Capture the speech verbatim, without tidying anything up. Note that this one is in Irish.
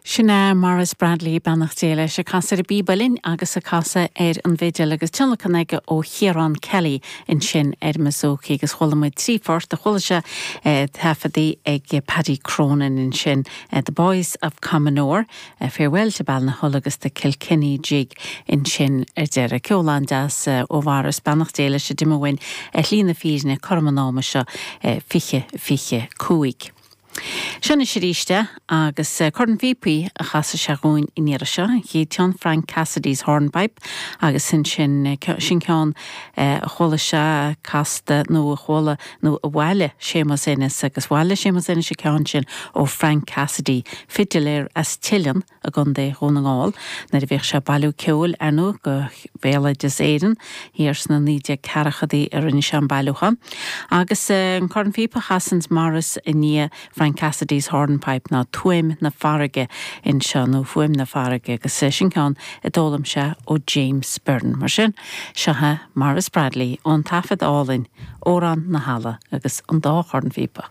Sin é Maurice Bradley beannacht Dé leis ag casadh ar an bpíb uilleann agus ag casadh ar an bhfidil agus tionlacan aige ó Chiarán Kelly ansin ar an mbouzouki agus chuala muid trí phort a chuala sé eh, taifeadta ag Paddy Cronin ansin eh, The Boys of Commonore, eh, Farewell to Ballinahull agus the Kilkenny Jig ansin ar deireadh ceol an-deas ó Mhaurice beannacht Dé leis a d'imigh uainn ar shlí na fírinne cothrom an ama seo fiche fiche cúig. Seo anois arís agus corn phíopaí a chasfaidh sé dhúinn an iarraidh seo an chéad ceann Frank Cassidy's Hornpipe agus sin sin sin ceann a chuala sé casta nó a chuala nó a bhailigh Séamus Ennis agus bhailigh Séamus Ennis an ceann sin ó Frank Cassidy fidiléir as Teileann i gContae Dhún na nGall nuair a bhíodh sé ag bailiú ceoil ar ndóigh do Bhéaloideas Éireann thiar sna naoi déag ceathrachaidí a rinne sé an bailiúchán. Agus an corn phíopa a chasann Maurice i ndiaidh Frank Cassidy's Hornpipe ná Tuaim na Farraige anseo nó Fuaim na Farraige agus sin ceann a d'fhoghlaim sé ó James Byrne. Mar sin seo Maurice Bradley ón taifead álainn Órán na hEala agus an dá chorn phíopa.